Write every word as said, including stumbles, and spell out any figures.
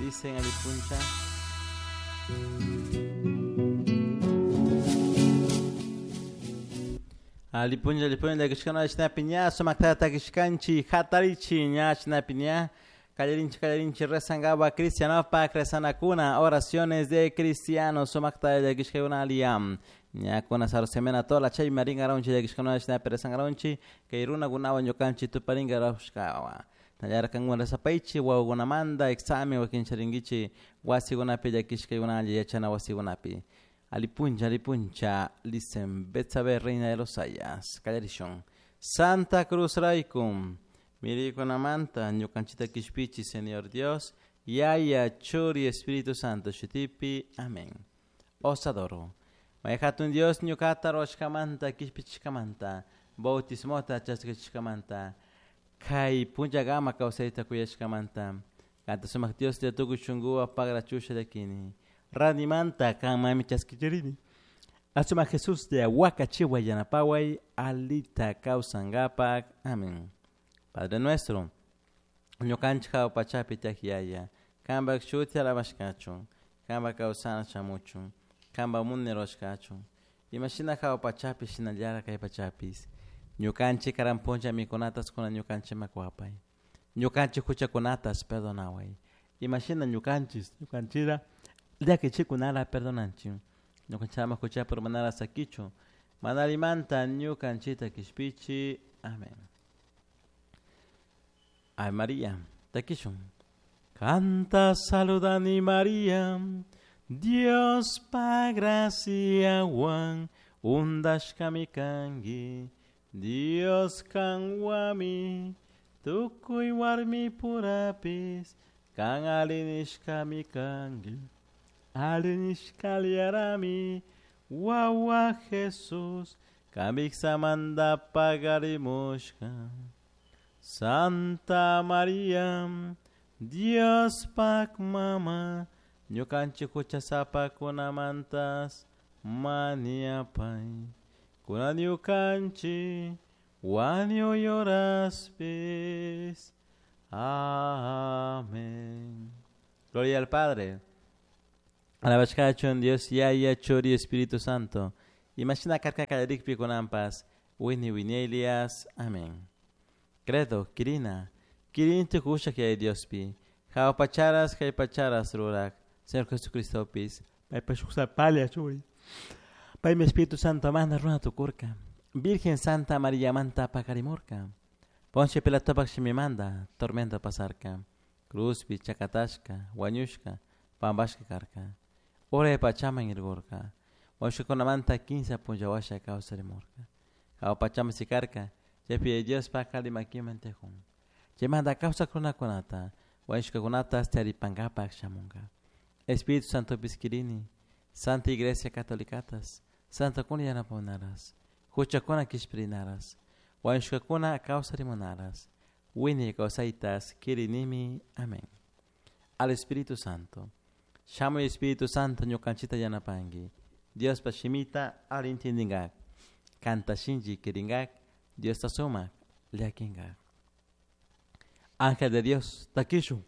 Dicen alipuncha. Alipuncha alipuncha llakishkana shinapi sumaktata takishkanchik hatarichi ña shinapi ña kallarinchik kallarinchik rezangaba cristianopak rezanakuna oraciones de cristianos sumakta llakishkakuna aliyam ñakuna sarosemena tola chay maringaronchi llakishkuna shinapi rezangaronchi kay runakunawan ñukanchik tuparingaraushkawa tallarkankuna rezapaychik wawakunamanta examen wakincharinkichik wasikunapi llakishkakuna alli yachana wasikunapi. Alipuncha, alipuncha, listen, Betsabe, reina de los Sayas, kallarishun. Santa Cruz Raikum, mirikunamanta, ñukanchita kishpichi, Señor Dios, Yaya, Churi, Espíritu Santo, shutipi, amén. Os adoro. Mayhatun Dios, ñukata roshkamanta, kishpichishkamanta, bautismota chaskishkamanta, kay punllagama kawsayta kuyashkamanta, kanta sumak Dios te tukuy shunkuwa pagrachusha llakini. Ranimanta kan mami chaskichirini. Asuma Jesús de Ahuacachiwa yanapaway alita kawsankapak. Amén. Padre nuestro, ñukanchik hawa pachapi tiyak yaya, kanpak shuti alabashkachun, kanpak kawsana shamuchun, kanpak munay rurashkachun, imashina hawa pachapi shinallara kay pachapis, ñukanchik karan punlla mikunatas kuna ñukanchikman kuwapay, ñukanchik huchakunatas perdonaway, imashina ñukanchis ñukanchira llakichikunara perdonanchik, ñukanchikman huchapi urmanara sakichun, mana allimanta ñukanchikta kishpichi. Amén. Ave María, takishun. Canta saludani María, Dios pa graciawan undashkami kanki, Dios kanwami, tukuy warmi purapis, kan alinishkami kanki. Alinishkaliarami, wawa Jesús, kamiksamanta pagarimushka. Santa María, Dios pak mama, ñukanchik huchasapakunamantas maniapay, kunan ñukanchik wañuy horaspis. Amén. Gloria al Padre, alabashkachun Dios Yaya, Churi, Espíritu Santo. Imashina karka kallarikpi kunanpas, wini winelias. Amén. Credo, Kirina, Kirinti kushak yaya Diospi, hawa pacharas, kay pacharas rurak, Señor Jesucristopis, paypa shuk sapalla churi, paymi Espíritu Santo mana runa tukurka, Virgen Santa María manta pakarimurka, Poncio Pilatopak shimimanta, tormento pasarka, cruzpi, chakatashka, wañushka, pampashka karka, uray pachaman irkurka, wañushkakunamanta kinsa punlla washa kawsarimurka, hawa pachaman sikarka, chaypi Diospak alli makiman tiyakun, chaymanta kawsak runakunata, wañushkakunata taripankapak shamunka. Espíritu Santopis kirini, Santa Iglesia Catolicatas, Santakuna yanapamunaras, huchakuna kishpirinaras, wañushkakuna kawsarimunaras, wiñay kawsaytas kirinimi. Amén. Al Espíritu Santo. Shamuy Espíritu Santo ñukanchita yanapanki, Diospa shimita alli intindinkak, kanta shinchi kirinkak, Diosta sumak llakinkak. Ángel de Dios, takishun.